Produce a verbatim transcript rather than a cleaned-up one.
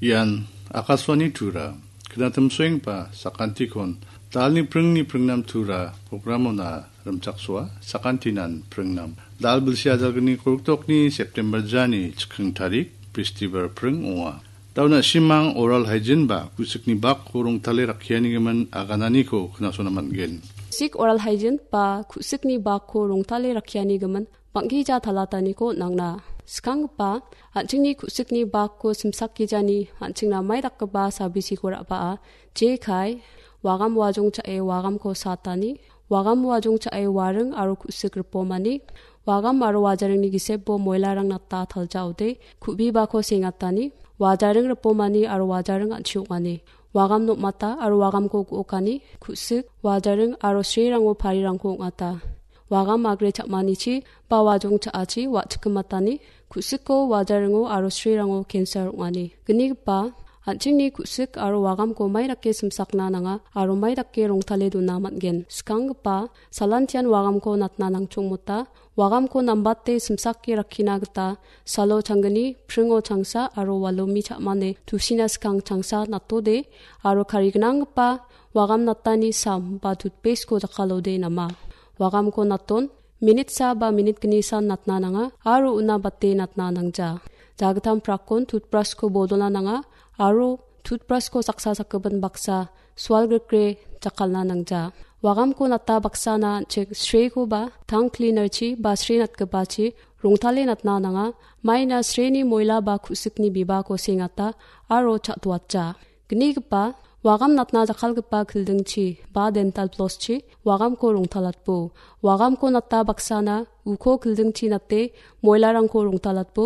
Ian Akaswani Tura, knatimsoengba sakantikon, dalni pringni pringnam Tura programona rimchaksoa, sakantinan pringnam. Dal bilsi ajalgni koruktokni September jani chikring tarik, Festival pring ong·a. Dauna simang oral hygiene ba ku·sikni bakko rongtale rakkianigimin agananiko knasona man·gen. Sik oral hygiene ba ku·sikni bakko rongtale rakkianigimin bang·gija talataniko nangna. Skanggipa, an·chingni ku·sikni bakko simsakgijani an·chingna mai dakgipa sabisiko ra·baa, jekai, wagam wajong cha·e wagamko satani, wagam wajong cha·e waring aro ku·sik ripomani, wagam aro wajaringni gisebo moilarang nata taljaode, ku·bibako sengatani, wajaring ripomani aro wajaring an·chi ong·ani, wagam nokmata aro wagamko gu·okani, ku·sik, wajaring aro srerango parirangko ong·ata. Wagam agre cha·manichi ba wajong cha·achi wa·chikgimatani, ku·siko wajaringo aro srerango cancer ong·ani. Gnigipa, an·chingni ku·sik aro wagamko mai dake simsakna nanga aro mai dake rongtale dona man·gen. Skanggipa, salantian wagamko natna nangchongmota, wagamko nambate simsake rakkina gita salo changgni, pringo changsa aro walomi cha·mane tusina skang changsa natode aro karignanggipa wagam natani sam ba toothpaste-ko jakkalode nama. Wagamko naton, minit sa ba minit gni san natna nanga aro una bate natna nangja. Jagitam prakon toothbrush-ko bodolna nanga aro toothbrush-ko saksa sakgipin baksa sualgrikre jakkalna nangja. Wagamko nata baksana an·ching srekoba tang cleaner-chi ba sre natgipachi rongtale natna nanga, maina sreni moila ba ku·sikni bibako sengata aro cha·toatja. Gnigipa, wagam natna jakkalgipa kildingchi ba dental floss-chi wagamko rongtalatbo. Wagamko nata baksana uko kildingchi nate moilarangko rongtalatbo.